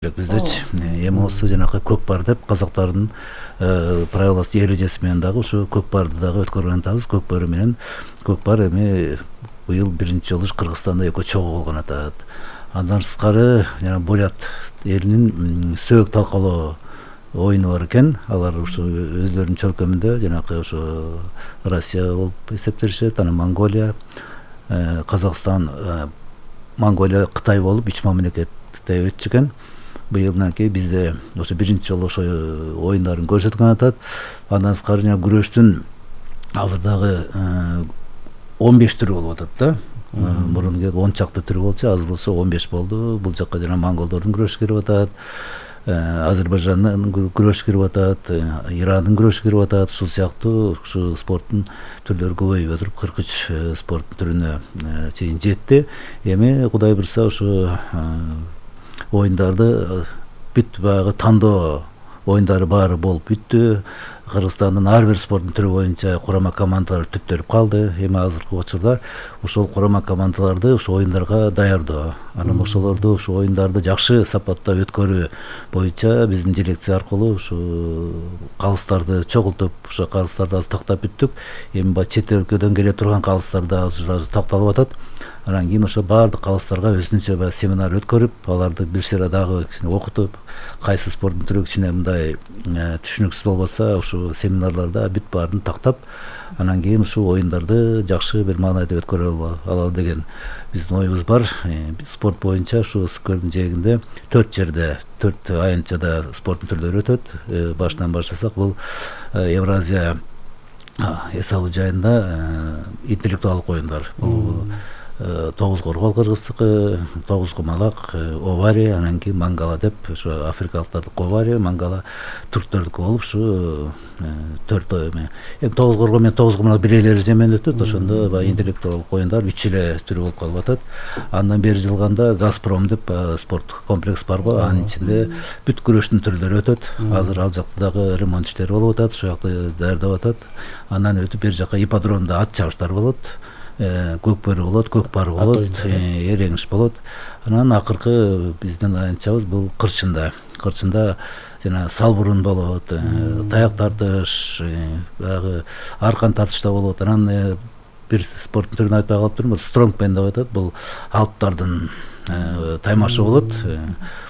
Биздечи эми осы жанакы көк бар деп казактардын правиласы эрежеси менен дагы ушу көк барды дагы өткөргөн атабыз. Көк бары менен көк бар эми быйыл биринчи жолу кыргызстанда экөө чогуу болгон атат. Андан сырткары жана бурят элинин сөөк талкалоо оюну бар экен. Алар ушу өздөрүнүн чөлкөмүндө жанакы ушу Россия болуп эсептелишет, анан Монголия, Казакстан, Монголия, Кытай болуп 3 мамлекетте өтчү экен. Быйыл мынакей бизде ошо биринчи жолу ошо оюндарын көрсөткөн атат. Андан сырткары жана күрөштүн азыр дагы 15 түрү болуп атат да. Мурун 10 чакты түрү болчу, азыр болсо 15 болду. Бул жакка жана монголдордун күрөшү кирип атат, Азербайжандын күрөшү кирип атат, Ирандын күрөшү кирип атат. Ушул сыяктуу ушу спорттун түрлөрү көбөйүп отуруп 43 спорттун түрүнө чейин жетти. Эми Кудай буйрса ушу оюндарды бүт баягы тандоо оюндары баары болуп бүттү. Кыргызстандын ар бир спорттун түрү боюнча курама командалар түптөлүп калды. Эми азыркы учурда ошол курама командаларды ушу оюндарга даярдоо, анан ошолорду ушу оюндарды жакшы сапатта өткөрүү боюнча биздин дирекция аркылуу ушу калыстарды чогултуп, ошо калыстарды азыр тактап бүттүк. Эми баягы чет өлкөдөн келе турган калыстар да азыр такталып атат. Анан кийин ошо баардык калыстарга өзүнчө баягы семинар өткөрүп, аларды бир сыйра дагы кичине окутуп, кайсы спорттун түрү кичине мындай түшүнүксүз болбосо ушу семинарларда бүт баарын тактап, анан кийин ушул оюндарды жакшы бир маанайда өткөрө алалы деген биздин оюбуз бар. Спорт боюнча ушу ысык көлдүн жээгинде 4 жерде 4 аянтчада спорттун түрлөрү өтөт. Башынан баштасак, бул Евразия эс алуу жайында интеллектуалдык оюндар. Бул тогуз коргол кыргыздыкы, тогуз кумалак, овари, анан кийин мангала деп ошо африкалыктардыкы овари, мангала түрктөрдүкү болуп ушу 4 эми тогуз коргол менен тогуз кумалак бир эле эреже менен өтөт. Ошондо баягы интеллектуалдык оюндар 3 эле түрү болуп калып атат. Андан бери жылганда Газпром деп спорт комплекс бар го, анын ичинде бүт күрөштүн түрлөрү өтөт. Азыр ал жакта дагы ремонт иштери болуп атат, ошол жакты даярдап атат. Андан өтүп бер жака ипподромдо ат чабыштар болот. Көк бөрү болот, көк бар болот, эреңиш болот. Анан акыркы биздин аянтчабыз бул кырчында. Кырчында жана салбурун болот, таяк тартыш, баягы аркан тартыш да болот. Анан бир спорттун түрүн айтпай калып турмун, стронгмен деп атат. Бул алптардын таймашы болот.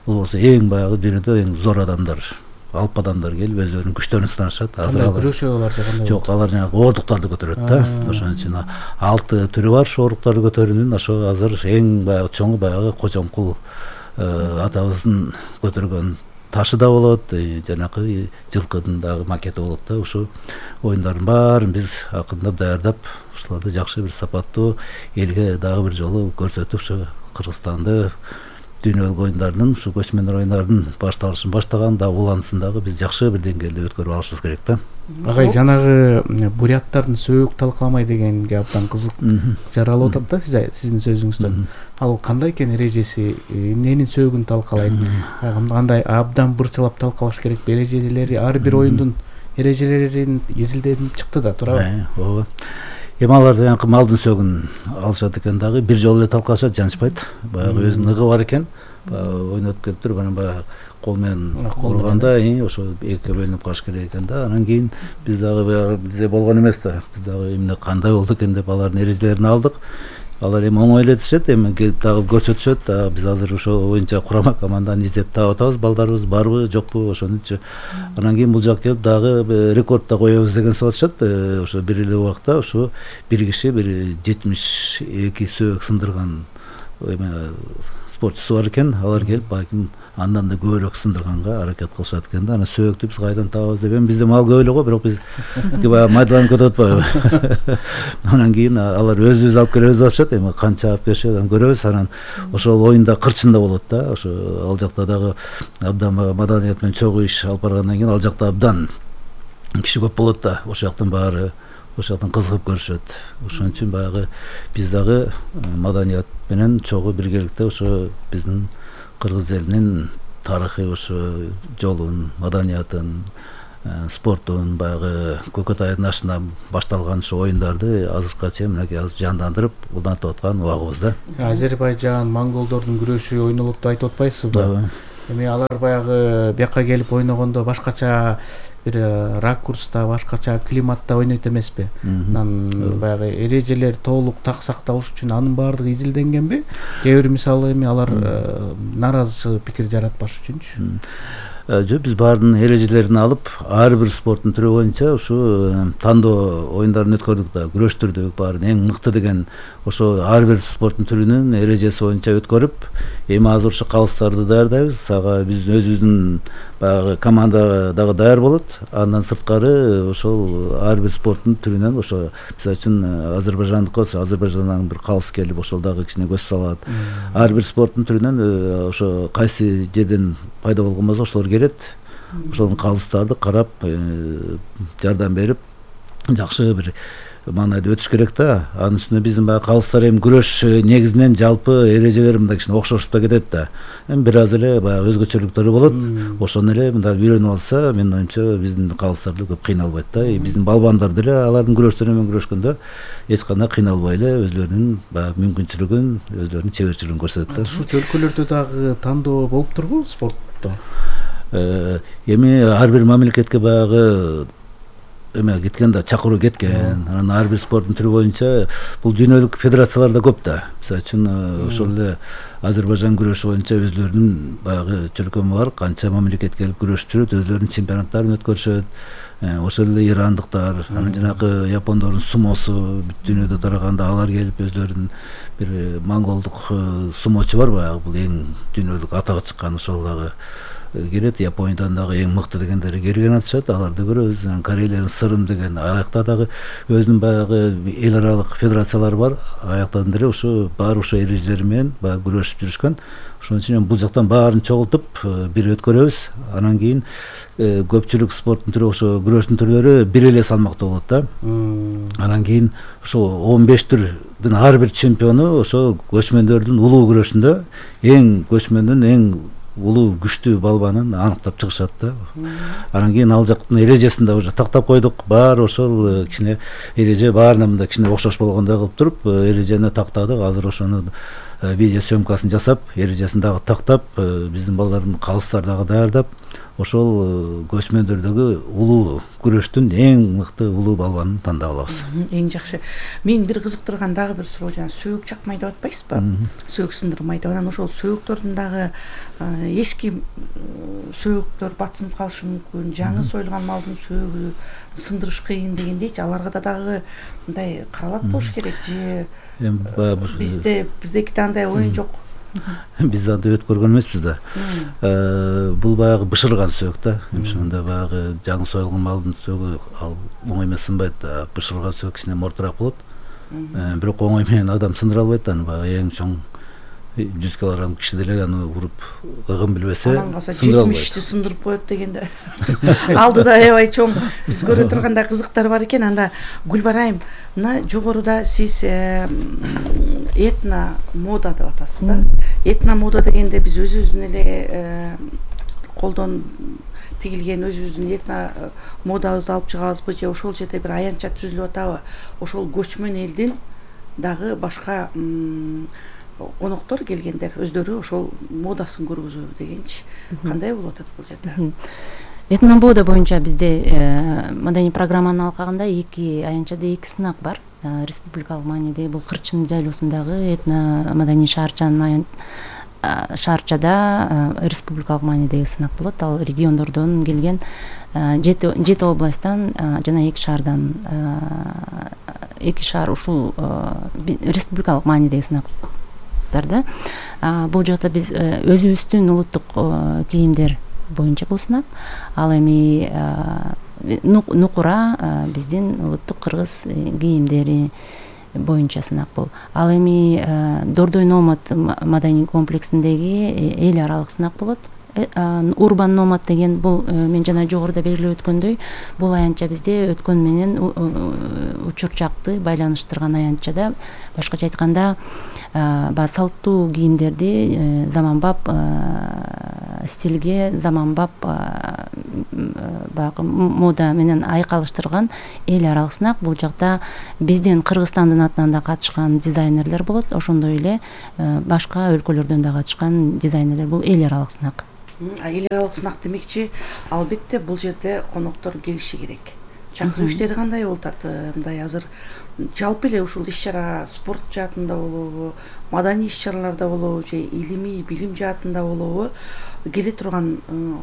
Бул болсо эң баягы дүйнөдө эң зор адамдар, алп адамдар келип өздөрүнүн күчтөрүн сынашат. Азыр алар күрөшөт, алар жагында жок, алар жанагы оордуктарды көтөрөт да. Ошон үчүн 6 түрү бар ошо оордуктарды көтөрүүнүн. Ошо азыр эң баягы чоңу баягы Кожомкул атабыздын көтөргөн ташы да болот, жанакы жылкыдын дагы макети болот да. Ушу оюндардын баарын биз акырындап даярдап, ушуларды жакшы бир сапаттуу элге дагы бир жолу көрсөтүп, ушу Кыргызстанды дүйнөлүк оюндардын, ушу көчмөндөр оюндардын башталышын баштаган да улансын дагы биз жакшы бир деңгээлде өткөрүп алышыбыз керек да. Агай, жанагы буряттардын сөөк талкаламай дегенге абдан кызык жаралып атат да сиздин сөзүңүздөн. Ал кандай экен эрежеси, эмненин сөөгүн талкалайт? Кандай абдан бырчалап талкалаш керек? Эрежелери, ар бир оюндун эрежелерин изилденип чыкты да, туурабы? Ооба. Эми алар жанакы малдын сөөгүн алышат экен дагы, бир жолу эле талкалашат, жанышпайт. Баягы өзүнүн ыгы бар экен. Ойнотуп келип туруп, анан баягы кол менен урганда ошо экиге бөлүнүп калыш керек экен да. Анан кийин биз дагы баягы бизде болгон эмес да. Биз дагы эмне кандай болду экен деп алардын эрежелерин алдык. Алар эми оңой эле этишет, эми келип дагы көрсөтүшөт. Биз азыр ошо боюнча курама команданы издеп таап атабыз. Балдарыбыз барбы, жокпу, ошонучу. Анан кийин бул жака келип дагы рекорд да коебуз деген сурашат. Ошо бир эле убакта ошо бир киши бир 72 сөөк сындырган спортчусу бар экен. Алар келип балким андан да көбүрөөк сындырганга аракет кылышат экен да. Анан сөөктү биз кайдан табабыз деп, эми бизде мал көп эле го, бирок биз баягы майдаланып кетип атпайбы. Анан кийин алар өзүбүз алып келебиз деп атышат. Эми канча алып келишет, анан көрөбүз. Анан ошол оюнда кырчында болот да. Ошо ал жакта дагы абдан маданият менен чогуу иш алып баргандан кийин ал жакта абдан киши көп болот да. Ошол жактын баары ошол жактан кызыгып көрүшөт. Ошон үчүн баягы биз дагы маданият менен чогуу биргеликте ошо биздин кыргыз элинин тарыхый ошо жолун, маданиятын, спорттун баягы көкөт айдын ашына башталган ошо оюндарды азыркыга чейин мынакей жандандырып улантып аткан убагыбыз да. Азербайжан, монголдордун күрөшү ойнолот деп айтып атпайсызбы? Эми алар баягы бияка келип ойногондо башкача бир ракурста, башкача климатта ойнойт эмеспи? Анан баягы эрежелер толук так сакталыш үчүн анын баардыгы изилденгенби? Кээ бир мисалы эми алар нааразычылык пикир жаратпаш үчүнчү? Жок, биз баардын эрежелерин алып, ар бир спорттун түрү боюнча ушу тандоо оюндарын өткөрдүк да, күрөштүрдүк, баарын эң мыкты деген ошо ар бир спорттун түрүнүн эрежеси боюнча өткөрүп, эми азыр ошо калыстарды даярдайбыз. Ага биз өзүбүздүн баягы команда дагы даяр болот. Андан сырткары ошол ар бир спорттун түрүнөн ошо мисалы үчүн Азербайжандыкка болсо, Азербайжандан бир калыс келип ошол дагы кичине көз салат. Ар бир спорттун түрүнөн ошо кайсы жерден пайда болгон болсо ошолор келет. Ошол калыстарды карап, жардам берип, жакшы бир маанайда өтүш керек да. Анын үстүнө биздин баягы калыстар эми күрөш негизинен жалпы эрежелери мындай кичине окшошуп да кетет да. Эми бир аз эле баягы өзгөчөлүктөрү болот. Ошону эле мындай үйрөнүп алса, менин оюмча биздин калыстар да көп кыйналбайт да. Биздин балбандар деле алардын күрөштөрү менен күрөшкөндө эч кандай кыйналбай эле өзлөрүнүн баягы мүмкүнчүлүгүн, өзлөрүнүн чеберчилигин көрсөтөт да. Ушул өлкөлөрдө дагы тандоо болуп турбу спортто? Эми ар бир мамлекетке баягы эме кеткен да, чакыруу кеткен. Анан ар бир спорттун түрү боюнча бул дүйнөлүк федерациялар да көп да. Мисалы үчүн ошол эле Азербайжан күрөшү боюнча өзлөрүнүн баягы чөлкөмү бар, канча мамлекет келип күрөштүрөт, өзлөрүнүн чемпионаттарын өткөрүшөт. Ошол эле ирандыктар, анан жанагы япондордун сумосу бүт дүйнөдө тараганда алар келип өзлөрүнүн бир монголдук сумочу бар баягы, бул эң дүйнөлүк атага чыккан, ошол дагы келет. Япониядан дагы эң мыкты дегендери келген атышат, аларды көрөбүз. Кореялардын Сырым деген аякта дагы өзүнүн баягы эл аралык федерациялары бар. Аяктан деле ошо баары ошо эрежелери менен баягы күрөшүп жүрүшкөн. Ошон үчүн бул жактан баарын чогултуп бир өткөрөбүз. Анан кийин көпчүлүк спорттун түрү, ошо күрөштүн түрлөрү бир эле салмакта болот да. Анан кийин ошо 15 түрдүн ар бир чемпиону ошо көчмөндөрдүн улуу күрөшүндө эң көчмөндүн эң улуу күчтүү балбанын аныктап чыгышат да. Анан кийин ал жактын эрежесин да уже тактап койдук. Баары ошол кичине эреже баарына мындай кичине окшош болгондой кылып туруп эрежени тактадык. Азыр ошону видео съемкасын жасап, эрежесин дагы тактап, биздин балдардын калыстар дагы даярдап, ошол көчмөндөрдөгү улуу күрөштүн эң мыкты улуу балбанын тандап алабыз. Эң жакшы. Мен бир кызыктырган дагы бир суроо, жана сөөк жакмай деп атпайсызбы? Сөөк сындырмай деп. Анан ошол сөөктөрдүн дагы эски сөөктөр батсынып калышы мүмкүн, жаңы союлган малдын сөөгү сындырыш кыйын дегендейчи, аларга да дагы мындай каралат болуш керек же? Бизде бирдеки андай оюн жок. Биз андай өткөргөн эмеспиз да. Бул баягы бышырган сөөк да. Ошондо баягы жаңы союлган малдын сөөгү ал оңой менен сынбайт да. Бышырган сөөк кичине мортураак болот. Бирок оңой менен адам сындыра албайт да. Баягы эң чоң 100 килограмм киши деле аны уруп ыгын билбесе сындыра албайт. 70-ти сындырып коет дегенде алдыда аябай чоң биз көрө тургандай кызыктар бар экен. Анда Гүлбарайым, мына жогоруда сиз этно мода деп атасыз да. Этно мода дегенде биз өзүбүздүн эле колдон тигилген өзүбүздүн этно модабызды алып чыгабызбы же ошол жерде бир аянтча түзүлүп атабы? Ошол көчмөн элдин дагы башка коноктор келгендер өздөрү ошол модасын көргүзөбү дегенчи. Кандай болуп атат бул жерде? Этно мода боюнча бизде маданий программаны алганда аянтчада эки сынак бар. Республикалык мааниде бул Кырчын жайлоосундагы этно маданий шаарчада республикалык маанидеги сынак болот. Ал региондордон келген 7 областтан жана 2 шаардан 2 шаар ушул республикалык маанидеги сынактарда. Бул жакта биз өзүбүздүн улуттук кийимдер боюнча бул сынак. Ал эми нукура биздин улуттук кыргыз кийимдери боюнча сынак бул. Ал эми Дордой Номад маданий комплексиндеги эл аралык сынак болот. Урбан Номад деген бул мен жана жогоруда белгилеп өткөндөй, бул аянтча бизде өткөн менен учур жакты байланыштырган аянтчада. Башкача айтканда, салттуу кийимдерди заманбап стилге, заманбап баягы мода менен айкалыштырган эл аралык сынак. Бул жакта биздин Кыргызстандын атынан да катышкан дизайнерлер болот, ошондой эле башка өлкөлөрдөн да катышкан дизайнерлер. Бул эл аралык сынак. эл аралык сынак демекчи, албетте бул жерде коноктор келиши керек. Чакыруу иштери кандай болуп атат? Мындай азыр жалпы эле ушул иш-чара спорт жаатында болобу, маданий иш-чараларда болобу же илимий билим жаатында болобу, келе турган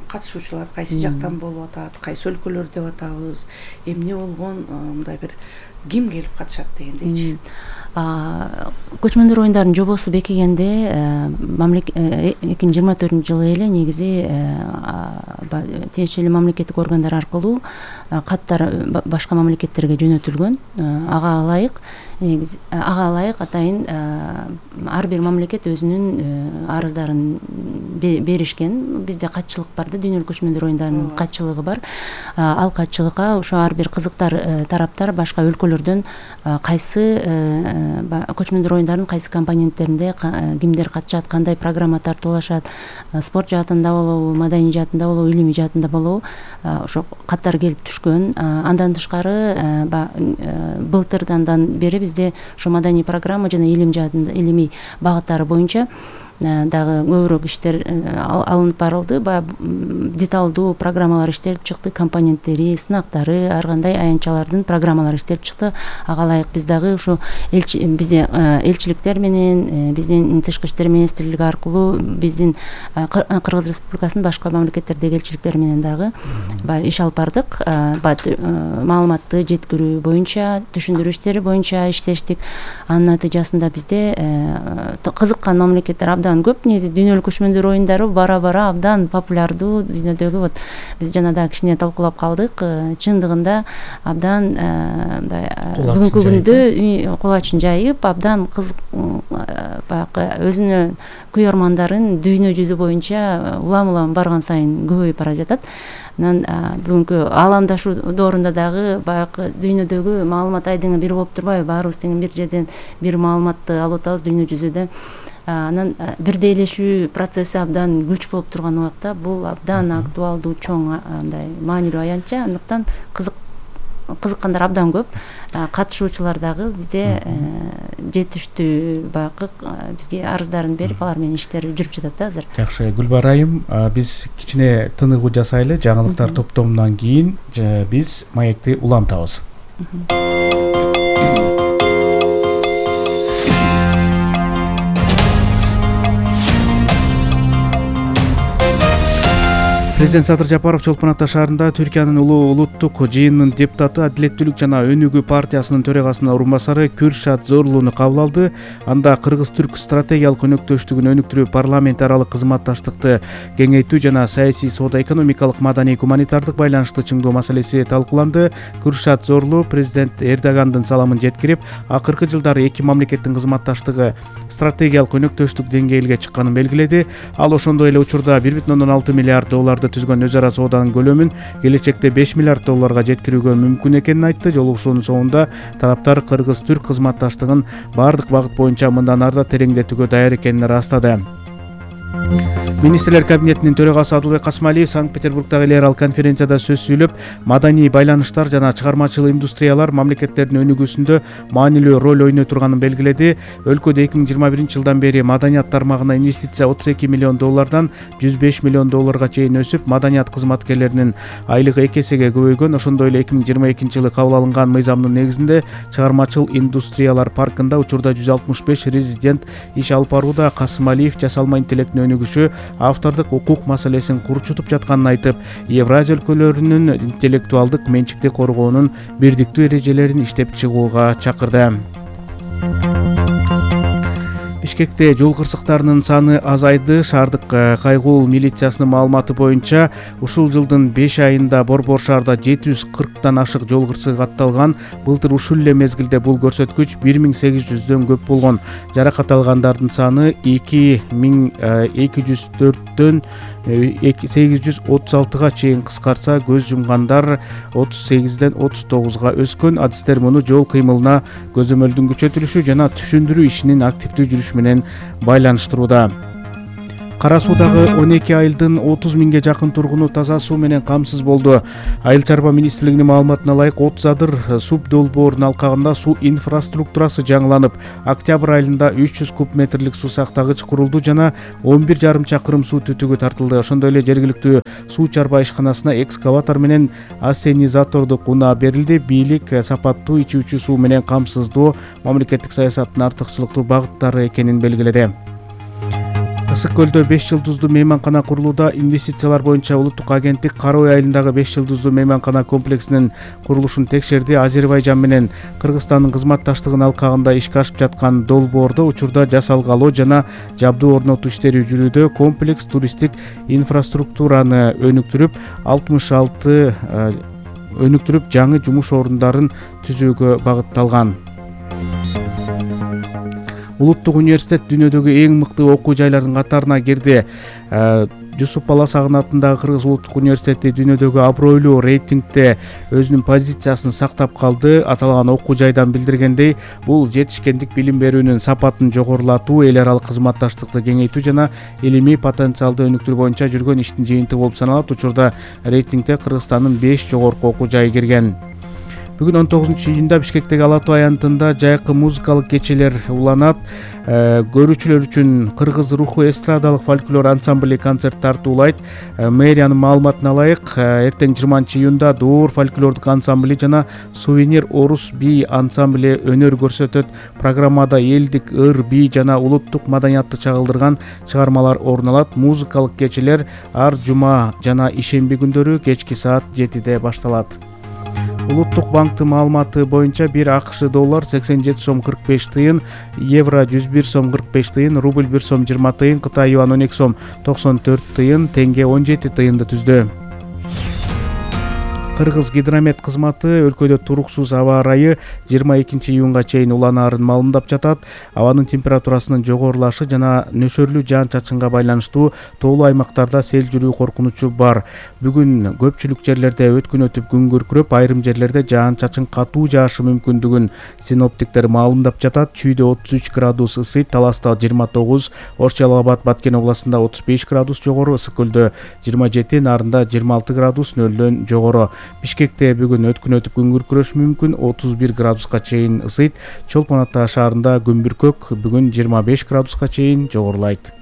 катышуучулар кайсы жактан болуп атат, кайсы өлкөлөр деп атабыз, эмне болгон, мындай бир ким келип катышат дегендейчи. Көчмөндөр оюндарынын жобосу бекигенде 2024-жылы эле негизи тиешелүү мамлекеттик органдар аркылуу каттар башка мамлекеттерге жөнөтүлгөн. Ага ылайык атайын ар бир мамлекет өзүнүн арыздарын беришкен. Бизде катчылык бар да, дүйнөлүк көчмөндөр оюндарынын катчылыгы бар. Ал катчылыкка ошо ар бир кызыктар тараптар башка өлкөлөрдөн кайсы көчмөндөр оюндарынын кайсы компоненттеринде кимдер катышат, кандай программа тартуулашат, спорт жаатында болобу, маданий жаатында болобу, илимий жаатында болобу, ошо каттар келип түшкөн. Андан тышкары былтырдан бери бизде ошо маданий программа жана илим жаатында, илимий багыттары боюнча дагы көбүрөөк иштер алынып барылды. Баягы деталдуу программалар иштелип чыкты, компоненттери, сынактары, ар кандай аянтчалардын программалары иштелип чыкты. Ага ылайык биз дагы ушу бизде элчиликтер менен, биздин тышкы иштер министрлиги аркылуу биздин Кыргыз Республикасынын башка мамлекеттердеги элчиликтери менен дагы баягы иш алып бардык. Маалыматты жеткирүү боюнча, түшүндүрүү иштери боюнча иштештик. Анын натыйжасында бизде кызыккан мамлекеттер абдан көп. Негизи дүйнөлүк көчмөндөр оюндары бара абдан популярдуу дүйнөдөгү. Вот биз жана да кичине талкуулап калдык. Чындыгында абдан бүгүнкү күндө кулачын жайып, абдан кызык, баягы өзүнө күйөрмандарын дүйнө жүзү боюнча улам барган сайын көбөйүп бара жатат. Анан бүгүнкү ааламдашуу доорунда дагы баягы дүйнөдөгү маалымат айдыңы бир болуп турбайбы? Баарыбыз тең бир жерден бир маалыматты алып атабыз дүйнө жүзүдө. Анан бирдейлешүү процесси абдан күч болуп турган убакта бул абдан актуалдуу, чоң, андай маанилүү аянтча. Андыктан кызыккандар абдан көп. Катышуучулар дагы бизде жетиштүү баягы бизге арыздарын берип, алар менен иштер жүрүп жатат да азыр. Жакшы, Гүлбар айым, биз кичине тыныгуу жасайлы. Жаңылыктар топтомунан кийин биз маекти улантабыз. Президент Садыр Жапаров Чолпон Ата шаарында Түркиянын улуттук жыйынынын депутаты, Адилеттүүлүк жана Өнүгүү партиясынын төрагасынын орун басары Кürşat Zorlu'ну кабыл алды. Анда кыргыз-түрк стратегиялык өнөктөштүгүн өнүктүрүү, парламент аралык кызматташтыкты кеңейтүү жана саясий, соода-экономикалык, маданий, гуманитардык байланышты чыңдоо маселеси талкууланды. Кürşat Zorlu президент Эрдогандын саламын жеткирип, акыркы жылдары эки мамлекеттин кызматташтыгы стратегиялык өнөктөштүк деңгээлге чыкканын белгиледи. Ал ошондой эле учурда 1,6 миллиард долларды түзгөн өз ара сооданын көлөмүн келечекте 5 миллиард долларга жеткирүүгө мүмкүн экенин айтты. Жолугушуунун соңунда тараптар кыргыз-түрк кызматташтыгын баардык багыт боюнча мындан ары да тереңдетүүгө даяр экенин ырастады. Министрлер кабинетинин төрагасы Адылбек Касмалиев Санкт-Петербургдагы эл аралык конференцияда сөз сүйлөп, маданий байланыштар жана чыгармачыл индустриялар мамлекеттердин өнүгүүсүндө маанилүү роль ойной турганын белгиледи. Өлкөдө 2021-жылдан бери маданият тармагына инвестиция 32 миллион доллардан 105 миллион долларга чейин өсүп, маданият кызматкерлеринин айлыгы 2 эсеге көбөйгөн. Ошондой эле 2022-жылы кабыл алынган мыйзамдын негизинде чыгармачыл индустриялар паркында учурда 165 резидент иш алып барууда. Касмалиев жасалма интеллектин өнүгүшү автордук укук маселесин курчутуп жатканын айтып, Евразия өлкөлөрүнүн интеллектуалдык менчикти коргоонун бирдиктүү эрежелерин иштеп чыгууга чакырды. Бишкекте жол кырсыктарынын саны азайды. Шаардык кайгул милициясынын маалыматы боюнча ушул жылдын 5 айында Борбор шаарда 740тан ашык жол кырсыгы катталган. Былтыр ушул эле мезгилде бул көрсөткүч 1800дөн көп болгон. Жаракат алгандардын саны 2204дөн 836га чейин кыскарса, көз жумгандар 38ден 39га өскөн. Адистер муну жол кыймылына көзөмөлдүн күчөтүлүшү жана түшүндүрүү ишинин активдүү жүрүшү менен байланыштырууда. Кара Суудагы 12 айылдын 30 миңге жакын тургуну таза суу менен камсыз болду. Айыл чарба министрлигинин маалыматына ылайык 30 адыр суб долбоорунун алкагында суу инфраструктурасы жаңыланып, октябрь айында 300 куб метрлик суу сактагыч курулду жана 11,5 чакырым суу түтүгү тартылды. Ошондой эле жергиликтүү суу чарба ишканасына экскаватор менен ассенизаторду кунаа берилди. Бийлик сапаттуу ичүүчү суу менен камсыздоо мамлекеттик саясаттын артыкчылыктуу багыттары экенин белгиледи. Ысык көлдө 5 жылдыздуу мейманкана курулууда. Инвестициялар боюнча улуттук агенттик Кара Ой айылындагы 5 жылдыздуу мейманкана комплексинин курулушун текшерди. Азербайжан менен Кыргызстандын кызматташтыгынын алкагында ишке ашып жаткан долбоордо учурда жасалгалоо жана жабдуу орнотуу иштери жүрүүдө. Комплекс туристтик инфраструктураны өнүктүрүп жаңы жумуш орундарын түзүүгө багытталган. Улуттук университет дүйнөдөгү эң мыкты окуу жайлардын катарына кирди. Жусуп Баласагын атындагы Кыргыз улуттук университети дүйнөдөгү абройлуу рейтингде өзүнүн позициясын сактап калды. Аталган окуу жайдан билдиргендей, бул жетишкендик билим берүүнүн сапатын жогорулатуу, эл аралык кызматташтыкты кеңейтүү жана илимий потенциалды өнүктүрүү боюнча жүргөн иштин жыйынтыгы болуп саналат. Учурда рейтингде Кыргызстандын 5 жогорку окуу жайы кирген. Бүгүн 19-июнда Бишкектеги Ала Тоо аянтында жайкы музыкалык кечелер уланат. Көрүүчүлөр үчүн Кыргыз руху эстрадалык фольклор ансамбли концерт тартуулайт. Мэриянын маалыматына ылайык, эртең 20-июнда Дуур фольклордук ансамбли жана Сувенир орус би ансамбли өнөр көрсөтөт. Программада элдик, ыр, би жана улуттук маданиятты чагылдырган чыгармалар орун алат. Музыкалык кечелер ар жума жана ишемби күндөрү кечки саат 7-де башталат. Улуттук банктын маалыматы боюнча 1 АКШ доллар 87 сом 45 тыйын, евро 101 сом 45 тыйын, рубль 1 сом 20 тыйын, Кытай юан 12 сом 94 тыйын, тенге 17 тыйынды түздү. Кыргыз гидромет кызматы өлкөдө туруксуз аба ырайы 22-июнга чейин уланаарын маалымдап жатат. Абанын температурасынын жогорулашы жана нөшөрлүү жаан-чачынга байланыштуу тоолуу аймактарда сел жүрүү коркунучу бар. Бүгүн көпчүлүк жерлерде өткөн өтүп күн күркүрөп, айрым жерлерде жаан-чачын катуу жаашы мүмкүндүгүн синоптиктер маалымдап жатат. Чүйдө 33 градус ысыйт, Таласта 29, Ош-Жалал Абад Баткен областында 35 градус жогору, Ысык көлдө 27, Нарында 26 градус нөлдөн жогору. Бишкекте бүгүн өткөн өтүп күн күркүрөшү мүмкүн, 31 градуска чейин ысыйт. Чолпон Ата шаарында күн бүркөк, бүгүн 25 градуска чейин жогорулайт.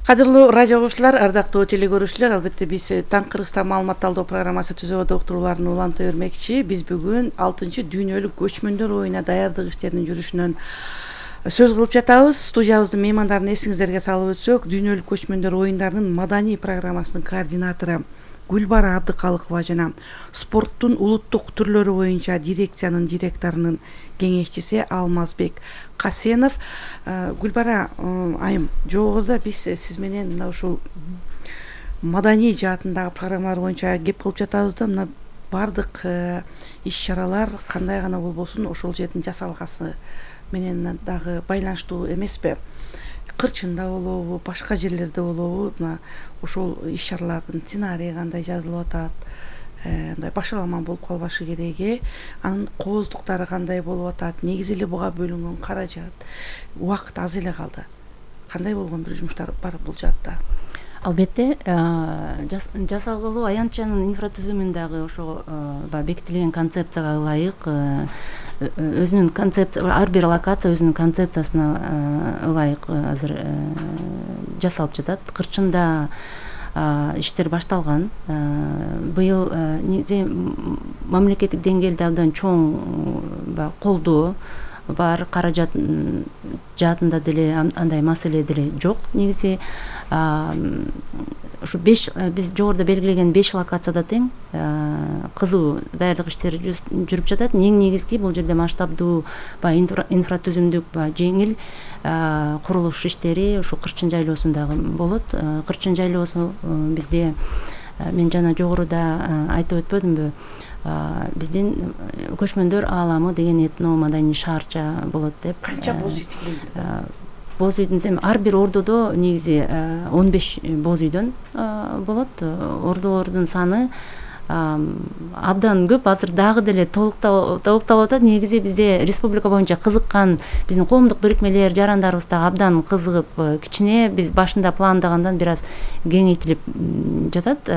Кадырлуу радио угуучулар, ардактуу телекөрүүчүлөр, албетте биз Таң Кыргызстан маалымат алуу программасы түзүүдө уктурууларын уланта бермекчи. Биз бүгүн 6-дүйнөлүк көчмөндөр оюна даярдык иштеринин жүрүшүнөн сөз кылып жатабыз. Студиябыздын меймандарын эсиңиздерге салып өтсөк, дүйнөлүк көчмөндөр оюндарынын маданий программасынын координатору Гүлбара Абдыкалыкова жана спорттун улуттук түрлөрү боюнча дирекциянын директорунун кеңешчиси Алмазбек Касенов. Гүлбара айым, жогоруда биз сиз менен мына ушул маданий жаатындагы программалар боюнча кеп кылып жатабыз да, мына бардык иш-чаралар кандай гана болбосун ошол жердин жасалгасы менен дагы байланыштуу эмеспи? Кырчында болобу, башка жерлерде болобу, мына ошол иш-чаралардын сценарийи кандай жазылып атат, мындай башаламан болуп калбашы керек, анын кооздуктары кандай болуп атат, негизи эле буга бөлүнгөн каражат, убакыт аз эле калды. Кандай болгон бир жумуштар бар бул жаатта? Албетте, жасалгылоо аянтчанын инфратүзүмүн дагы ошо бекитилген концепцияга ылайык өзүнүн ар бир локация өзүнүн концепциясына ылайык азыр жасалып жатат. Кырчында иштер башталган. Быйыл мамлекеттик деңгээлде абдан чоң колдоо бар, каражат жаатында деле андай маселе деле жок. Негизи ушу биз жогоруда белгилеген 5 локацияда тең кызуу даярдык иштери жүрүп жатат. Эң негизги бул жерде масштабдуу инфратүзүмдүк жеңил курулуш иштери ушу Кырчын жайлоосундагы болот. Кырчын жайлоосу бизде мен жана жогоруда айтып өтпөдүмбү? Биздин көчмөндөр ааламы деген этно маданий шаарча болот деп. Канча боз үй тигилген? Боз үйдүн ар бир ордодо негизи 15 боз үйдөн болот. Ордолордун саны абдан көп. Азыр дагы деле толукталып атат. Негизи бизде республика боюнча кызыккан биздин коомдук бирикмелер, жарандарыбыз дагы абдан кызыгып, кичине биз башында пландагандан бир аз кеңейтилип жатат.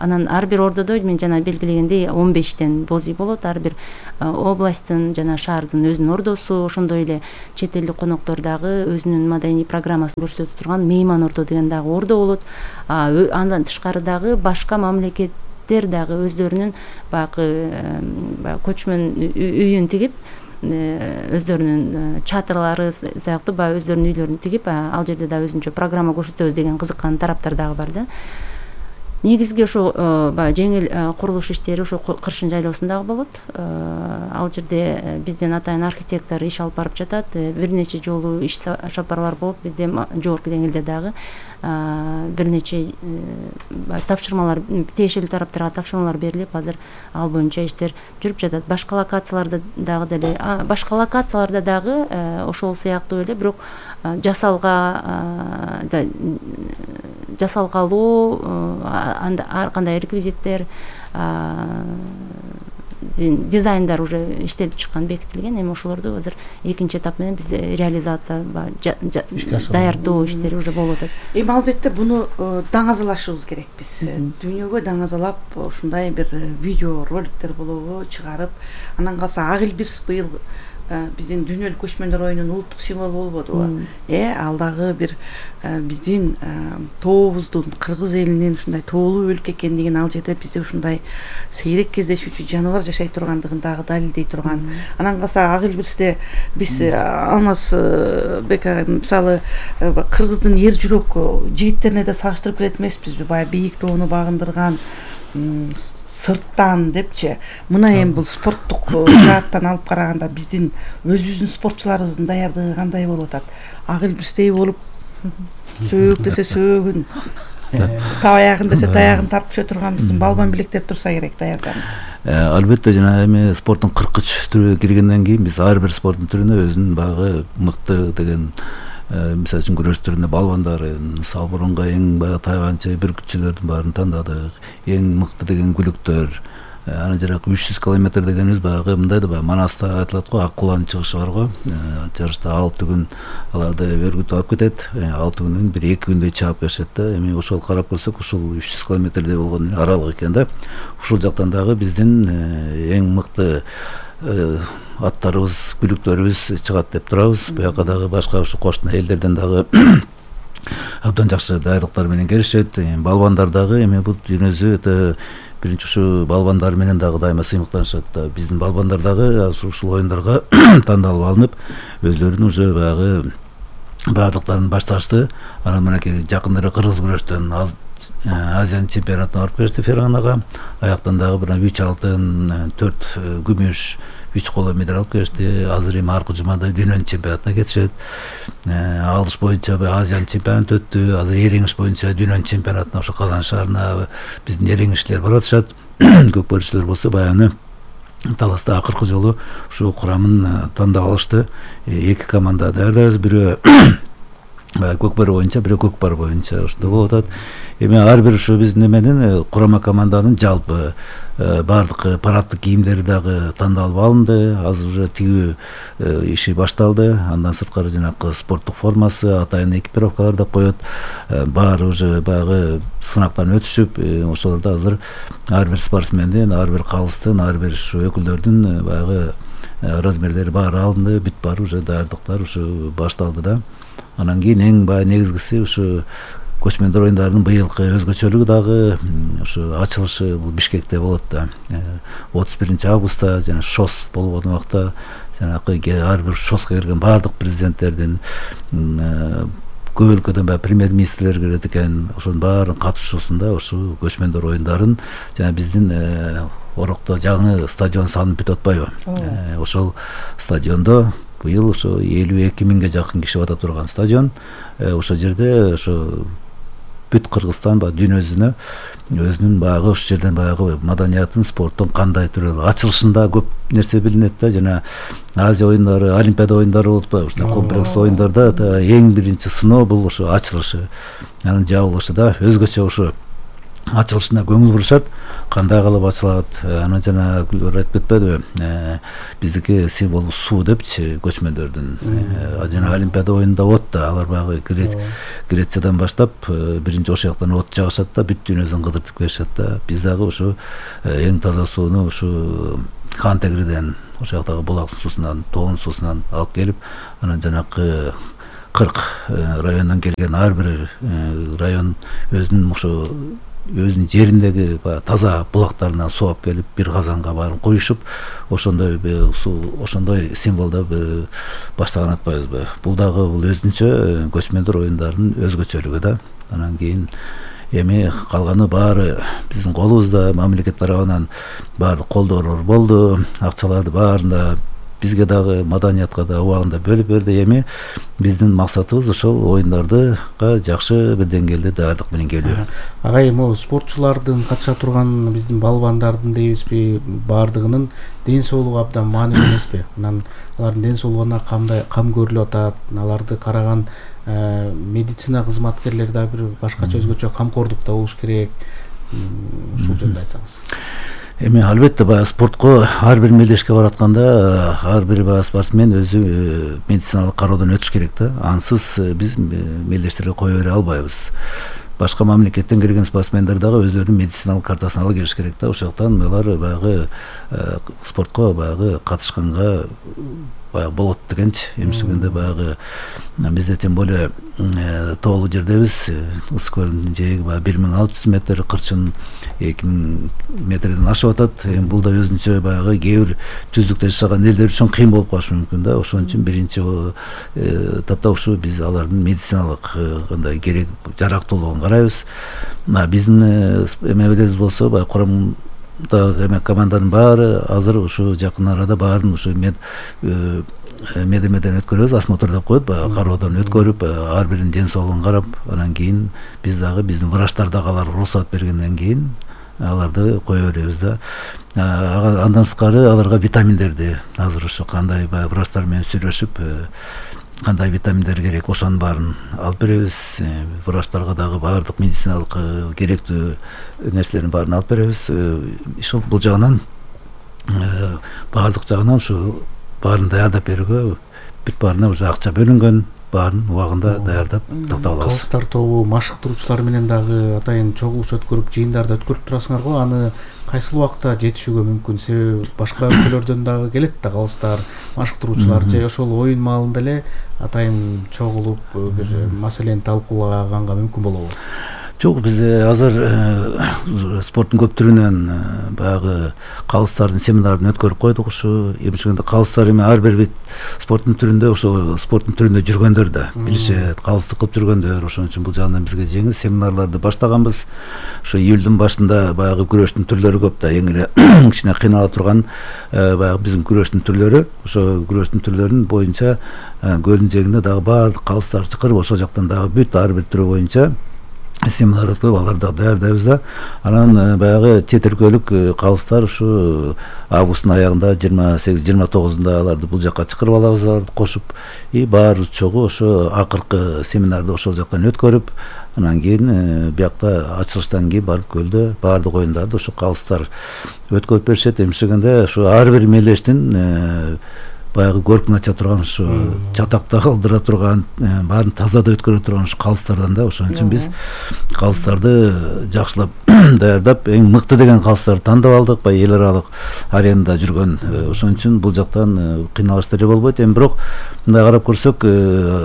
Анан ар бир ордодо мен жана белгилегендей 15тен боз үй болот. Ар бир областтын жана шаардын өзүнүн ордосу, ошондой эле чет элдик коноктор дагы өзүнүн маданий программасын көрсөтүп турган мейман ордо деген дагы ордо болот. Андан тышкары дагы башка мамлекеттер дагы өздөрүнүн баягы көчмөн үйүн тигип, өздөрүнүн чатырлары сыяктуу баягы өздөрүнүн үйлөрүн тигип, ал жерде да өзүнчө программа көрсөтөбүз деген кызыккан тараптар дагы бар да. Негизги ошо баягы жеңил курулуш иштери ошо Кыршын жайлоосунда болот. Ал жерде бизден атайын архитектор иш алып барып жатат. Бир нече жолу иш сапарлар болуп, бизде жогорку деңгээлде дагы бир нече тапшырмалар, тиешелүү тараптарга тапшырмалар берилип, азыр ал боюнча иштер жүрүп жатат. Башка локацияларда дагы ошол сыяктуу эле, бирок жасалгалуу ар кандай реквизиттер, дизайндар уже иштелип чыккан, бекитилген. Эми ошолорду азыр экинчи этап менен биз реализация, даярдоо иштери уже болуп атат. Эми албетте буну даңазалашыбыз керек. Биз дүйнөгө даңазалап ушундай бир видео роликтер болобу чыгарып, анан калса Ак Элбирс быйыл биздин дүйнөлүк көчмөндөр оюнунун улуттук символу болбодубу? Ал дагы бир биздин тообуздун, кыргыз элинин ушундай тоолуу өлкө экендигин, ал жерде бизде ушундай сейрек кездешүүчү жаныбар жашай тургандыгын дагы далилдей турган. Анан калса Ак Элбирсте биз Алмаз Бек мисалы кыргыздын эр жүрөк жигиттерине да сагыштырып келет эмеспизби? Баягы бийик тоону багындырган, сырттан депчи, мына эми бул спорттук жааттан алып караганда биздин өзүбүздүн спортчуларыбыздын даярдыгы кандай болуп атат? Ак Элбирстей болуп, сөөгүк десе сөөгүн, табаягын десе таягын тартып түшө турган биздин балбан билектер турса керек даярданып. Албетте жана эми спорттун 43 түрүгө киргенден кийин биз ар бир спорттун түрүнө өзүнүн багы мыкты деген, мисалы үчүн күрөш түрүндө балбандарын, мисалы мурунга эң баягы тайганчы бүркүтчүлөрдүн баарын тандадык, эң мыкты деген күлүктөр. Анан жаракы 300 километр дегенибиз баягы мындай да, баягы Манаста айтылат го, ак куланын чыгышы бар го. Жарышта 6 күн аларды өргүтүп алып кетет. 6 күндөн бир 2 күндөй чаап келишет да. Эми ошол карап көрсөк, ушул 300 километрдей болгон аралык экен да. Ушул жактан дагы биздин эң мыкты аттарыбыз, күлүктөрүбүз чыгат деп турабыз. Буяка дагы башка ушу кошуна элдерден дагы абдан жакшы даярдыктар менен келишет. Балбандар дагы эми бул дүйнөсү өтө биринчи ушу балбандар менен дагы дайыма сыймыктанышат да. Биздин балбандар дагы ушул оюндарга тандалып алынып, өзлөрүнүн уже баягы баардыктарын башташты. Анан мынакей жакындары кыргыз күрөштөн Азиянын чемпионатына барып келишти Ферганага. Аяктан дагы бир 3 алтын, 4 күмүш, 3 коло медаль алып келишти. Азыр эми аркы жумада дүйнөнүн чемпионатына кетишет. Алыш боюнча Азиянын чемпионаты өттү. Азыр эреңиш боюнча дүйнөнүн чемпионатына ошо Казан шаарына биздин эреңишчилер барып атышат. Көкбөрүчүлөр болсо баягы таласта акыркы жолу ушу курамын тандап алышты. 2 команда даярдайбыз. Бирөө көкбөр боюнча, бирөө көкпар боюнча ошондой болуп атат. Эми ар бир ушу биздин эменин курама команданын жалпы баардык параддык кийимдери дагы тандалып алынды. Азыр уже тигүү иши башталды. Андан сырткары жанагы спорттук формасы, атайын экипировкалар да коет. Баары уже баягы сынактан өтүшүп, ошолордо азыр ар бир спортсмендин, ар бир калыстын, ар бир ушу өкүлдөрдүн баягы размерлери баары алынды. Бүт баары уже даярдыктар ушу башталды да. Анан кийин эң баягы негизгиси ушу көчмөндөр оюндарынын быйылкы өзгөчөлүгү дагы ушу ачылышы бул Бишкекте болот да. 31 августта жана ШОС болгон убакта жанагы ар бир ШОСко келген баардык президенттердин, көп өлкөдөн баягы премьер-министрлер келет экен. Ошонун баарынын катышуусунда ушу көчмөндөр оюндарын жана биздин Орокто жаңы стадион салынып бүтүп атпайбы? Ошол стадиондо быйыл ошо 52 миңге жакын киши бата турган стадион. Ошол жерде ошо бүт Кыргызстан дүйнөсүнө өзүнүн баягы ошол жерден баягы маданиятын, спорттун кандай түрү ачылышында көп нерсе билинет да. Жана Азия оюндары, Олимпиада оюндары болуп атпайбы? Ушундай комплекстүү оюндарда эң биринчи сыноо бул ошо ачылышы, анын жабылышы да. Өзгөчө ошо ачылышына көңүл бурушат, кандай кылып ачылат. Анан жана Гүлбар айтып кетпедиби, биздики символ суу депчи, көчмөндөрдүн. Жана Олимпиада оюнунда от да, алар баягы Грециядан баштап биринчи ошол жактан от жагышат да, бүт дүйнөсүн кыдыртып келишет да. Биз дагы ушу эң таза сууну ушу Хан Тегриден, ошол жактагы булактын суусунан, тоонун суусунан алып келип, анан жанакы 40 райондон келген ар бир район өзүнүн жериндеги таза булактарынан суу алып келип, бир казанга баарын куюшуп, ошондой символдо баштаган атпайбызбы. Бул дагы бул өзүнчө көчмөндөр оюндарынын өзгөчөлүгү да. Анан кийин эми калганы баары биздин колубузда, мамлекет тарабынан баардык колдоолор болду, акчаларды баарында бизге дагы, маданиятка да убагында бөлүп берди. Эми биздин максатыбыз ошол оюндардыга жакшы бир деңгээлде даярдык менен келүү. Агай, могу спортчулардын катыша турган биздин балбандардын дейбизби, баардыгынын ден соолугу абдан маанилүү эмеспи? Анан алардын ден соолугуна кам көрүлүп атат, аларды караган медицина кызматкерлери да бир башкача өзгөчө камкордукта болуш керек. Ушул жөнүндө айтсаңыз. Эми албетте баягы спортко ар бир мелдешке баратканда ар бир спортсмен өзү медициналык кароодон өтүш керек да. Ансыз биз мелдештерге кое бере албайбыз. Башка мамлекеттен келген спортсмендер дагы өздөрүнүн медициналык картасын ала келиш керек да. Ошондуктан алар баягы спортко баягы катышканга баягы болот дегенчи. Эмчегенде баягы бизде тем более тоолуу жердебиз. Ысык көлдүн жээги баягы 1600 метр, кырчын 2000 метрден ашып атат. Эми бул да өзүнчө баягы кээ бир түздүктө жашаган элдер үчүн кыйын болуп калышы мүмкүн да. Ошон үчүн биринчи этапта ушу биз алардын медициналык кандай керек жарактуулугун карайбыз. Биздин эмебиз болсо баягы коромдо команданын баары азыр ушу жакын арада баарын ушу медемеден өткөрөбүз, осмотр деп коет, баягы кароодон өткөрүп, ар биринин ден соолугун карап, анан кийин биз дагы биздин врачтар дагы алар уруксат бергенден кийин аларды кое беребиз да. Андан сырткары аларга витаминдерди азыр ушу кандай баягы врачтар менен сүйлөшүп, кандай витаминдер керек, ошонун баарын алып беребиз. Врачтарга дагы баардык медициналык керектүү нерселердин баарын алып беребиз. Ошол бул жагынан баардык жагынан ушу баарын даярдап берүүгө бүт баарына уже акча бөлүнгөн, баарын убагында даярдап токтоп алабыз. Калыстар тобу машыктыруучулар менен дагы атайын чогулуш өткөрүп, жыйындарды өткөрүп турасыңар го. Аны кайсыл убакта жетишүүгө мүмкүн? Себеби башка өлкөлөрдөн дагы келет да калыстар, машыктыруучулар же ошол оюн маалында эле атайын чогулуп бир маселени талкуулаганга мүмкүн болобу? Жок, биз азыр спорттун көп түрүнөн баягы калыстардын семинарын өткөрүп койдук. Ушу эмчегенде калыстар эми ар бир спорттун түрүндө, ошо спорттун түрүндө жүргөндөр да билишет, калысты кылып жүргөндөр. Ошон үчүн бул жагынан бизге жеңил семинарларды баштаганбыз. Ошо июлдун башында баягы күрөштүн түрлөрү көп да, эң эле кичине кыйнала турган баягы биздин күрөштүн түрлөрү, ошо күрөштүн түрлөрүнүн боюнча көлдүн жээгинде дагы баардык калыстар чакырып, ошол жактан дагы бүт ар бир түрү боюнча семинар өткөрүп, аларды даярдайбыз да. Анан баягы чет өлкөлүк калыстар ушу августтун аягында 28-29-унда аларды бул жакка чакырып алабыз, аларды кошуп, баары чогуу ошо акыркы семинарды ошол жактан өткөрүп, анан кийин биякта ачылыштан кийин барып көлдө баардык оюндарды ошо калыстар өткөрүп беришет. Эмчегенде ошо ар бир мелдештин баягы көркүн ача турган, ушу чатакта калдыра турган, баарын тазада өткөрө турган ушу калыстардан да. Ошон үчүн биз калыстарды жакшылап даярдап, эң мыкты деген калыстарды тандап алдык, баягы эл аралык аренада жүргөн. Ошон үчүн бул жактан кыйналыш деле болбойт. Эми бирок мындай карап көрсөк,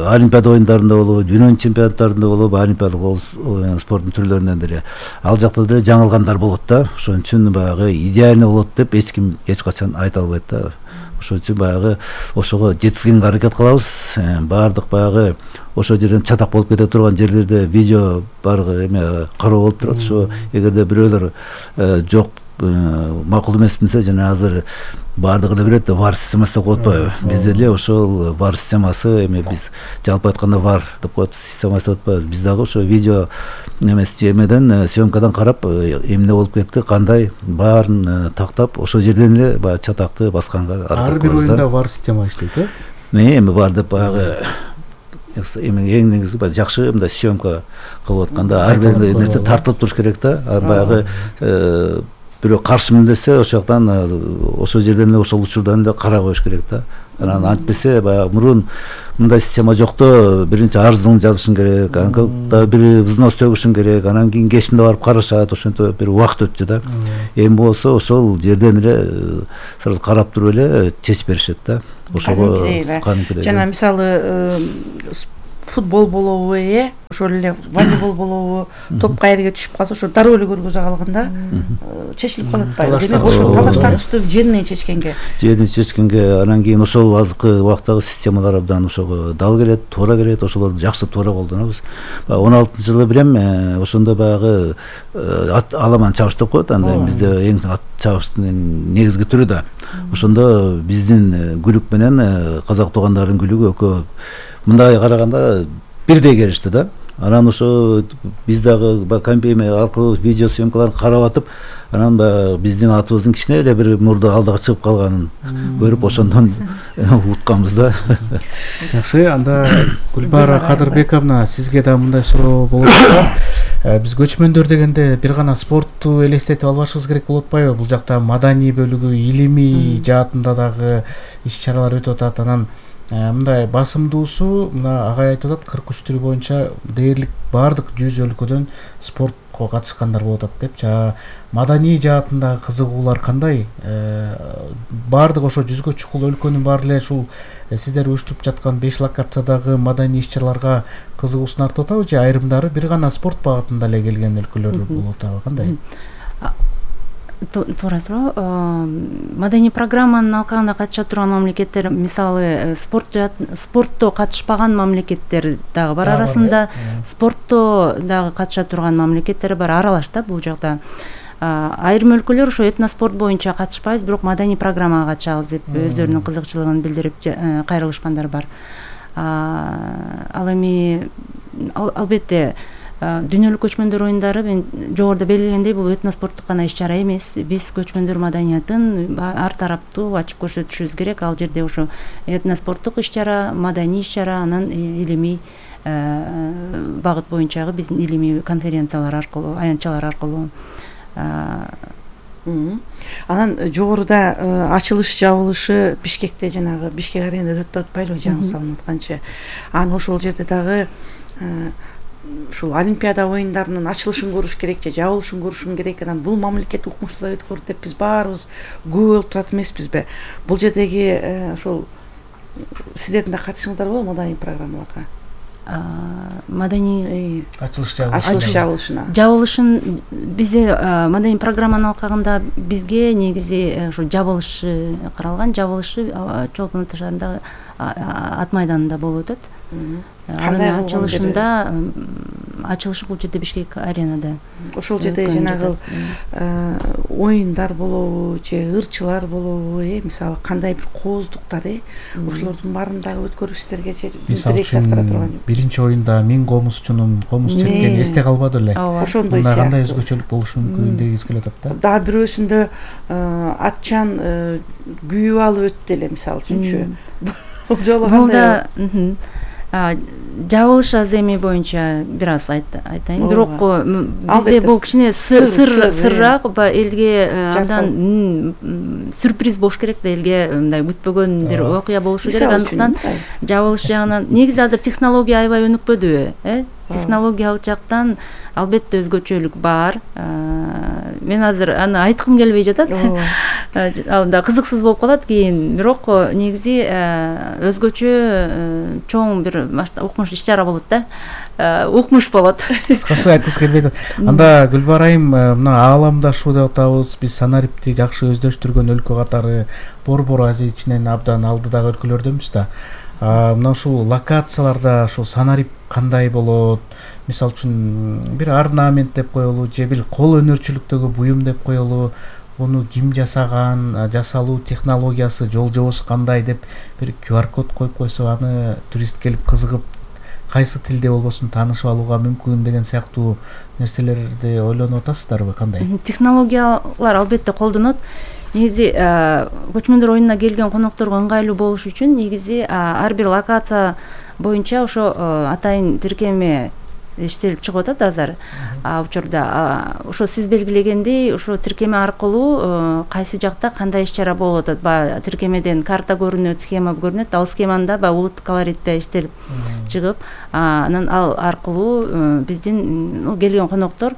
Олимпиада оюндарында болобу, дүйнөнүн чемпионаттарында болобу, олимпиадалык спорттун түрлөрүнөн деле ал жакта деле жаңылгандар болот да. Ошон үчүн баягы идеальный болот деп эч ким эч качан айта албайт да. Ошон үчүн баягы ошого жеткизгенге аракет кылабыз. Баардык баягы ошол жерден чатак болуп кете турган жерлерде видео бар эме кароо болуп турат. Ошо эгерде бирөөлөр жок, макул эмес билсе, жана азыр баардыгы эле билет да, вар системасы деп коет атпайбы? Бизде эле ошол вар системасы, эми биз жалпы айтканда вар деп коет, системасы деп атпайбыз. Биз дагы ошо видео эмеден, съемкадан карап, эмне болуп кетти, кандай, баарын тактап, ошол жерден эле баягы чатакты басканга аракет кылабыз да. Ар бир оюнда вар система иштейт, Эми бар деп баягы эң негизи баягы жакшы мындай съемка кылып атканда ар бир нерсе тартылып туруш керек да. Баягы бирөө каршы мындесе ошол жактан ошол жерден эле ошол учурдан эле карап коюш керек да. Анан антпесе баягы мурун мындай система жокто биринчи арызыңды жазышың керек, анан да бир взнос төгүшүң керек, анан кийин кечинде барып карашат, ошентип бир убакыт өтчү да. Эми болсо ошол жерден эле сразу карап туруп эле чечип беришет да. Ошого жана мисалы футбол болобу, ошол эле волейбол болобу, топ каерге түшүп калса ошо дароо эле көргөзө калганда чечилип калат атпайбы? Демек ошо талаш тартышты жеринен чечкенге анан кийин ошол азыркы убактагы системалар абдан ошого дал келет, туура келет, ошолорду жакшы туура колдонобуз. 16-жылы билем, ошондо баягы аламан чабыш деп коет, анда бизде эң ат чабыштын негизги түрү да. Ошондо биздин күлүк менен казак туугандардын күлүгү экөө мындай караганда бирдей келишти да. Анан ошо биз дагы компьютер аркылуу видео съемкаларын карап атып, анан биздин атыбыздын кичине эле бир мурда алдыга чыгып калганын көрүп ошондон утканбыз да. Жакшы, анда Гүлбара Кадырбековна, сизге да мындай суроо болот да. Биз көчмөндөр дегенде бир гана спортту элестетип албашыбыз керек болуп атпайбы? Бул жакта маданий бөлүгү, илимий жаатында дагы иш-чаралар өтүп атат. Анан мындай басымдуусу мына агай айтып атат, 43 түрү боюнча дээрлик баардык 100 өлкөдөн спортко катышкандар болуп атат деп. Маданий жаатындагы кызыгуулар кандай? Баардык ошо 100гө чукул өлкөнүн баары эле ушул сиздер уюштуруп жаткан 5 локациядагы маданий иш-чараларга кызыгуусун артып атабы, же айрымдары бир гана спорт багытында эле келген өлкөлөр болуп атабы, кандай? Туура суроо. Маданий программанын алкагында катыша турган мамлекеттер, мисалы спортто катышпаган мамлекеттер дагы бар арасында, спортто дагы катыша турган мамлекеттер бар, аралаш да бул жакта. Айрым өлкөлөр ошо этноспорт боюнча катышпайбыз, бирок маданий программага катышабыз деп өздөрүнүн кызыкчылыгын билдирип кайрылышкандар бар. Ал эми албетте дүйнөлүк көчмөндөр оюндары мен жогоруда белгилегендей бул этноспорттук гана иш-чара эмес. Биз көчмөндөр маданиятын ар тараптуу ачып көрсөтүшүбүз керек. Ал жерде ошо этноспорттук иш-чара, маданий иш-чара, анан илимий багыт боюнчагы биздин илимий конференциялар аркылуу, аянтчалар аркылуу. Анан жогоруда ачылыш жабылышы Бишкекте, жанагы Бишкек аренада өтүп атпайлыбы, жаңы салынып атканчы. Анан ошол жерде дагы ушул Олимпиада оюндарынын ачылышын көрүш керек же жабылышын көрүшүн керек. Анан бул мамлекет укмуштуулар өткөрдү деп биз баарыбыз күбө болуп турат эмеспизби? Бул жердеги ошол сиздердин да катышыңыздар болобу маданий программаларга? Маданий ачылыш жабылышына. Жабылышын бизде маданий программанын алкагында бизге негизи ошо жабылышы каралган. Жабылышы Чолпон Ата шаарындагы ат майданында болуп өтөт. Анын ачылышы бул жерде Бишкек аренада. Ошол жерде жанагы оюндар болобу, же ырчылар болобу, мисалы кандай бир кооздуктар, ошолордун баарын дагы өткөрүп сиздерге же дирекция аткара турган жок. Биринчи оюнда 1000 комузчунун комуз чепкени эсте калбады эле. Ошондой сыяктуу. Кандай өзгөчөлүк болушу мүмкүн дегиз келип атат да. Дагы бирөөсүндө атчан күйүп алып өттү эле, мисалы үчүнчү. Бул жолу кандай? Жабылыш аземи боюнча бир аз айтайын. Бирок бизде бул кичине сырраак, элге абдан сюрприз болуш керек да, элге мындай күтпөгөн бир окуя болушу керек. Андыктан жабылыш жагынан негизи азыр технология аябай өнүкпөдүбү? Технологиялык жактан албетте өзгөчөлүк бар. Мен азыр аны айткым келбей жатат. Ал да кызыксыз болуп калат кийин. Бирок негизи өзгөчө чоң бир укмуш иш-чара болот да. Укмуш болот. Кыскасы айткысы келбейт. Анда Гүлбарайым, мына ааламдашуу деп атабыз. Биз Санарипти жакшы өздөштүргөн өлкө катары Борбор Азия ичинен абдан алдыдагы өлкөлөрдөнбүз да. Мына ушул локацияларда ушул Санарип кандай болот? Мисалы үчүн бир орнамент деп коелу, же бир кол өнөрчүлүктөгү буюм деп коелу, муну ким жасаган, жасалуу технологиясы, жол жобосу кандай деп бир QR код коюп койсо, аны турист келип кызыгып, кайсы тилде болбосун таанышып алууга мүмкүн деген сыяктуу нерселерди ойлонуп атасыздарбы, кандай? Технологиялар албетте колдонот. негизи көчмөндөр оюнуна келген конокторго ыңгайлуу болуш үчүн негизи ар бир локация боюнча ошо атайын тиркеме иштелип чыгып атат азыр учурда. Ошо сиз белгилегендей ошо тиркеме аркылуу кайсы жакта кандай иш чара болуп атат, баягы тиркемеден карта көрүнөт, схема көрүнөт, ал схеманы да баягы улуттук колоритте иштелип чыгып, анан ал аркылуу биздин келген коноктор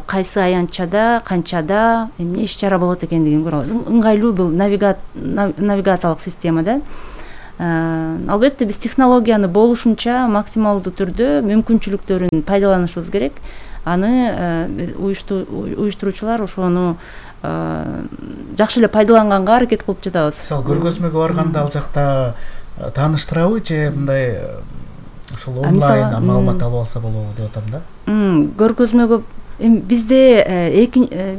кайсы аянтчада, канчада эмне иш чара болот экендигин көрө алат. Ыңгайлуу бул навигациялык система да. Албетте биз технологияны болушунча максималдуу түрдө мүмкүнчүлүктөрүн пайдаланышыбыз керек. Аны уюштуруучулар ошону жакшы эле пайдаланганга аракет кылып жатабыз. Мисалы көргөзмөгө барганда ал жакта тааныштырабы же мындай ошол онлайн маалымат алып алса болобу деп атам да. Көргөзмөгө бизде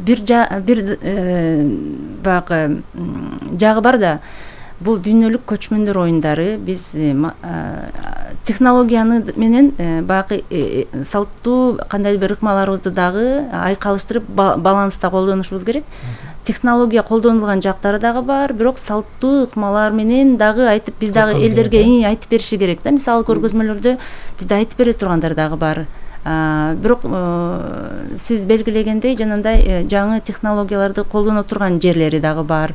бир баягы жагы бар да. Бул дүйнөлүк көчмөндөр оюндары биз технологияны менен баягы салттуу кандайдыр бир ыкмаларыбызды дагы айкалыштырып баланста колдонушубуз керек. Технология колдонулган жактары дагы бар, бирок салттуу ыкмалар менен дагы айтып биз дагы элдерге айтып бериши керек да. Мисалы көргөзмөлөрдө бизде айтып бере тургандар дагы бар. Бирок сиз белгилегендей жанагындай жаңы технологияларды колдоно турган жерлери дагы бар.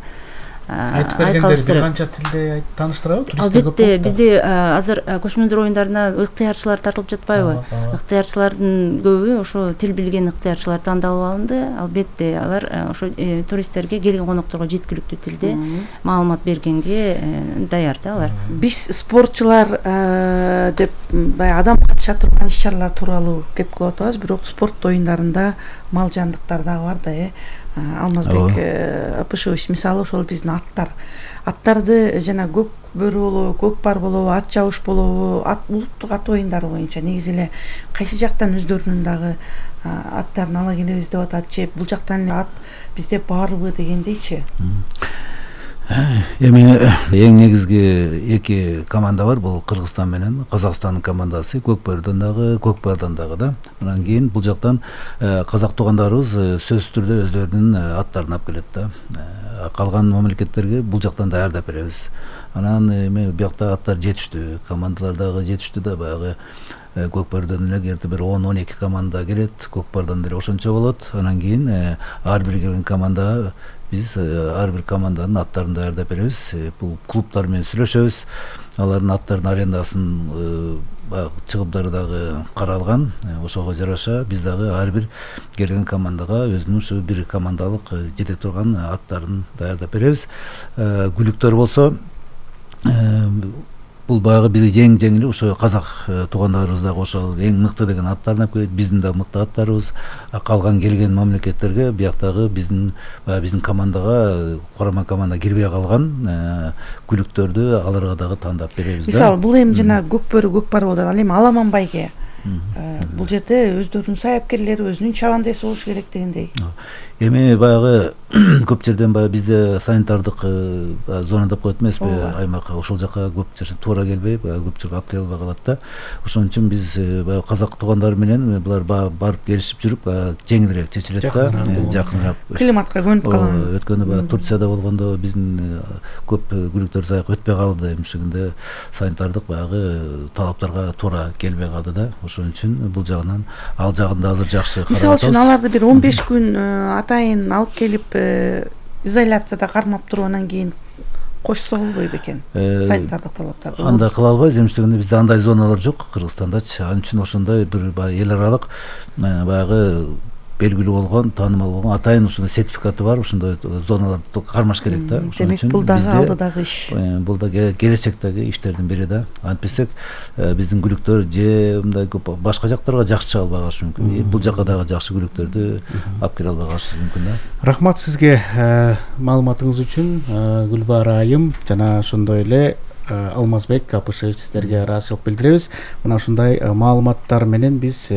Айтып бергендер бир канча тилде тааныштырабы? Туристтер көп. Албетте бизде азыр көчмөндөр оюндарына ыктыярчылар тартылып жатпайбы? Ыктыярчылардын көбү ошо тил билген ыктыярчылар тандалып алынды. Албетте алар ошо туристтерге, келген конокторго жеткиликтүү тилде маалымат бергенге даяр да алар. Биз спортчулар деп баягы адам катыша турган иш чаралар тууралуу кеп кылып атабыз, бирок спорт оюндарында мал жандыктар дагы бар да. Алмазбек Апышевич мисалы ошол биздин аттарды жана көк бөрү болобу, көк пар болобу, ат жабыш болобу, улуттук ат оюндары боюнча негизи эле кайсы жактан өздөрүнүн дагы аттарын ала келебиз деп атат же бул жактан эле ат бизде барбы дегендейчи. Эми эң негизги эки команда бар, бул Кыргызстан менен Казакстандын командасы, көк пардан дагы да. Анан кийин бул жактан казак туугандарыбыз сөзсүз түрдө өздөрүнүн аттарын алып келет да. Калган мамлекеттерге бул жактан даярдап беребиз. Анан эми биякта аттар жетиштүү, командалар дагы жетиштүү да, баягы көк пардан эле керти бир 10-12 команда келет, көк пардан деле ошончо болот. Анан кийин ар бир келген командага биз ар бир команданын аттарын даярдап беребиз. Бул клубтар менен сүйлөшөбүз. Алардын аттарынын арендасын чыгымдары дагы каралган. Ошого жараша биз дагы ар бир келген командага өзүнүн ушу бир командалык жете турган аттарын даярдап беребиз. Күлүктөр болсо бул баягы биз эң эле ошо казак туугандарыбыз дагы ошол эң мыкты деген аттарын алып келет. Биздин да мыкты аттарыбыз. Калган келген мамлекеттерге бияктагы биздин командага, курама команда кирбей калган күлүктөрдү аларга дагы тандап беребиз да. Мисалы бул эми жана көк бөрү, көк пар болду. Ал эми Аламан байге бул жерде өздөрүнүн саяпкерлери, өзүнүн чабандеси болуш керек дегендей. Эми баягы көп жерден баягы бизде санитардык зона деп коет эмеспи, аймак ошол жака көп жерде туура келбей, баягы көп жерге алып келе албай калат да. Ошон үчүн биз баягы казак туугандар менен булар барып келишип жүрүп жеңилирээк чечилет да, жакыныраак. Климатка көнүп калган. Өткөндө баягы Турцияда болгондо биздин көп күлүктөр саяк өтпөй калды, ушугунда санитардык баягы талаптарга туура келбей калды да. Ошон үчүн бул жагынан ал жагында азыр жакшы карап атабыз. Мисалы үчүн аларды бир 15 күн атайын алып келип изоляцияда кармап туруп анан кийин кошсо болбойт бекен санитардык талаптарды. Андай кыла албайбыз, эмнегенде бизде андай зоналар жок Кыргызстандачы. Анын үчүн ошондой бир эл аралык баягы белгилүү болгон, таанымал болгон атайын ушундай сертификаты бар ушундай зоналарды кармаш керек да. Ошон үчүн бул дагы алдыдагы иш. Бул да келечектеги иштердин бири да. Антпесек биздин күлүктөр же мындай башка жактарга жакшы чыга албай калышы мүмкүн. Бул жака дагы жакшы күлүктөрдү алып келе албай калышы мүмкүн да. Рахмат сизге маалыматыңыз үчүн, Гүлбара айым, жана ошондой эле Алмазбек Капышевич, сиздерге ыраазычылык билдиребиз. Мына ушундай маалыматтар менен биз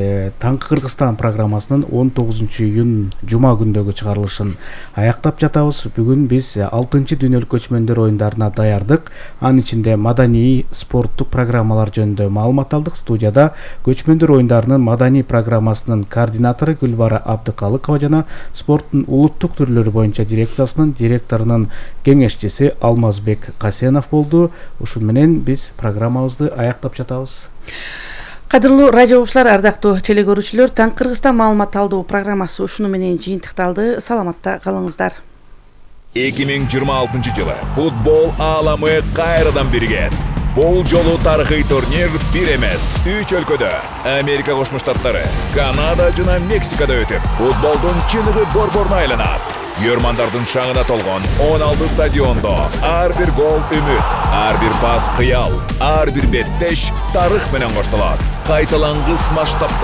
Таңкы Кыргызстан программасынын 19-июнь жума күндөгү чыгарылышын аяктап жатабыз. Бүгүн биз 6-дүйнөлүк көчмөндөр оюндарына даярдык, анын ичинде маданий, спорттук программалар жөнүндө маалымат алдык. Студияда көчмөндөр оюндарынын маданий программасынын координатору Гүлбара Абдыкалыкова жана спорттун улуттук түрлөрү боюнча дирекциясынын директорунун кеңешчиси Алмазбек Касенов болду. Ушун менен биз программабызды аяктап жатабыз. Кадырлуу радио угуучулар, ардактуу телекөрүүчүлөр, Таңкы Кыргызстан маалымат алдоо программасы ушуну менен жыйынтыкталды. Саламатта калыңыздар. 2026-жылы футбол ааламы кайрадан биригет. Бул жолу тарыхый турнир бир эмес, 3 өлкөдө, Америка Кошмо Штаттары, Канада жана Мексикада өтүп, футболдун чыныгы борборуна айланат. Көрмандардын шаңына толгон 16 стадиондо ар бир гол үмүт, ар бир пас кыял, ар бир беттеш тарых менен коштолот. Кайталангыс масштабтагы